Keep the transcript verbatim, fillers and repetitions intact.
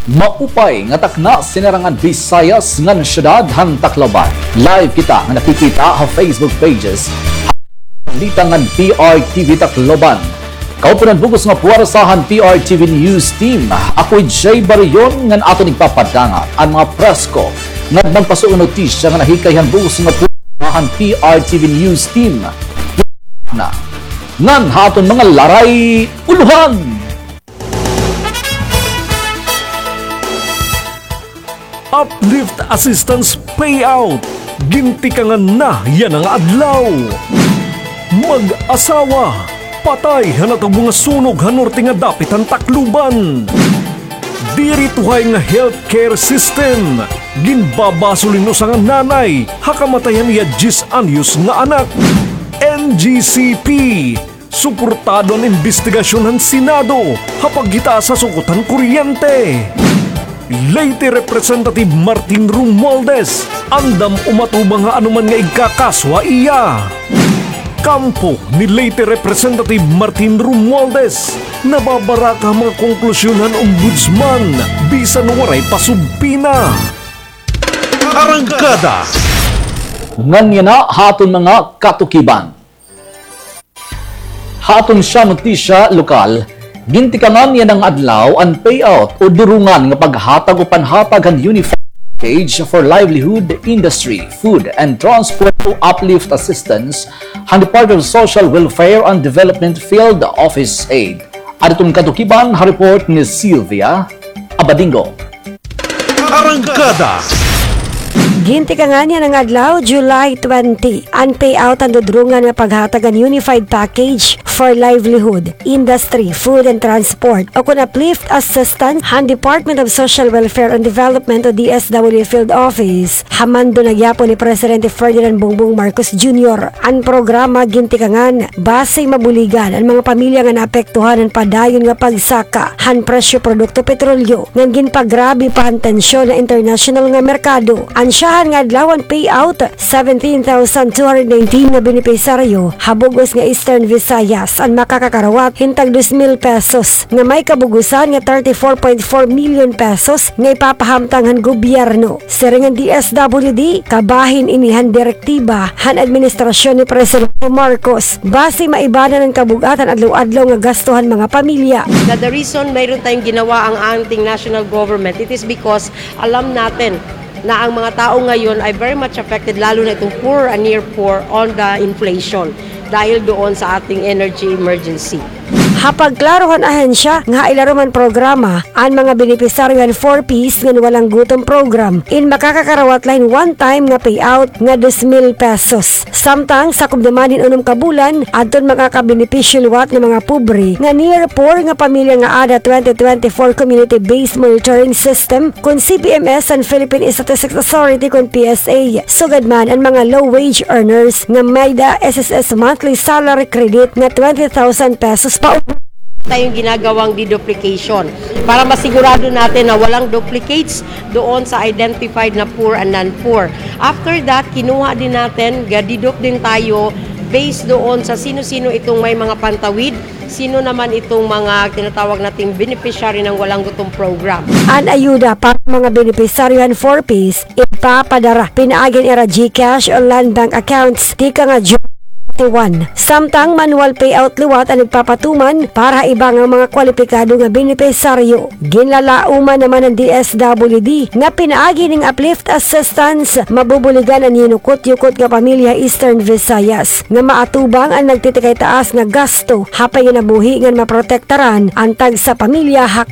Maupay nga takna, sinarangan Visayas ngan syudad han Tacloban. Live kita nga nakikita ha Facebook pages. Balita ngan P R T V Tacloban. Kaupunan bug-os nga puwersa han P R T V News Team. Ako hi Jay Barion ngan aton igpapadangat an mga presko ngan magpasuong notisya nga nahikay han bug-os nga puwersa han P R T V News Team. Na, ngan ha aton mga laray ulohan. Uplift Assistance Payout. Gintikangan na yana nga adlaw. Mag-asawa, patay han natubo nga sunog ha norte nga dapit han Tacloban. Diri tuhay nga healthcare system. Ginbabasolin usa nga nanay ha kamatay han iya diyes anyos nga anak. N G C P. Suportado an imbestigasyon han Senado ha paghitaas ha sukot han kuryente. Leyte Representative Martin Romualdez, andam umatubang ha anoman nga igkakaso ha iya. Kampo ni Leyte Representative Martin Romualdez, nababaraka ha mga konklusyon han Ombudsman bisan waray pa subpina. Arangkada. Ngan yana ha aton mga katukiban. Ha aton siyam notisya lokal, gintikangan yana nga adlaw an payout o durungan nga paghatag o panhatag han Unified Package for Livelihood, Industry, Food and Transport o Uplift Assistance han Department of Social Welfare and Development Field Office Aid. Adton katukiban ha report ni Sylvia Abadingo. Arangkada. Gintikangan yana nga adlaw, July twenty, an payout han dudurungan nga paghatag han Unified Package for Livelihood, Industry, Food and Transport, o kon Uplift Assistance han Department of Social Welfare and Development o D S W Field Office, ha mando na gihapon ni Presidente Ferdinand Bongbong Marcos Junior. An programa gintikangan basi mabuligan an mga pamilya nga naapektuhan han padayon nga pagsaka han presyo produkto petrolyo ngan ginpagrabe pa han tensyon ha internasyonal nga merkado. An syahan nga adlaw an payout, seventeen thousand two hundred nineteen nga benepisaryo ha bug-os nga Eastern Visayas an makakakarawat hin tag dos mil pesos nga may kabug-osan nga thirty-four point four million pesos nga ipapahamtang han gobyerno. Siring han D S W D, kabahin ini han direktiba han administrasyon ni Presidente Marcos. Basi maibanan an kabug-at han adlaw-adlaw nga gasto han mga pamilya. The, the reason mayroon tayong ginawa ang ating national government, it is because alam natin na ang mga tao ngayon ay very much affected, lalo na itong poor and near poor, on the inflation dahil doon sa ating energy emergency. Ha pagklaro han ahensya nga ha ilarom han programa, an mga benepisaryo han Four Ps ngan Walang Gutom Program in makakakarawat la hin one-time nga payout nga dos mil pesos. Samtang sakob naman hin unom ka bulan, adton makakabenepisyo liwat nga mga pobre nga near poor nga pamilya nga aada twenty twenty-four Community-Based Monitoring System kon C P M S han Philippine Statistics Authority kon P S A. Sugad man an mga low wage earners nga may-ada S S S monthly salary credit nga twenty thousand pesos pa. Tayong ginagawang deduplication para masigurado natin na walang duplicates doon sa identified na poor and non-poor. After that, kinuha din natin, ga-deduct din tayo based doon sa sino-sino itong may mga pantawid, sino naman itong mga tinatawag nating beneficiary ng Walang Gutom Program. An ayuda para mga benepisaryo han Four Ps ipapadara pinaagi han ira GCash o Land Bank accounts tikang nga June twenty-one. Samtang manual payout liwat an igpapatuman para ha iba nga mga kwalipikado nga benepisaryo. Ginlalauman naman han D S W D nga pinaagi hining uplift assistance, mabubuligan an yinukot-yukot nga pamilya ha Eastern Visayas nga maatubang an nagtitikay-taas nga gasto ha panginabuhi ngan maprotektaran an tagsa pamilya ha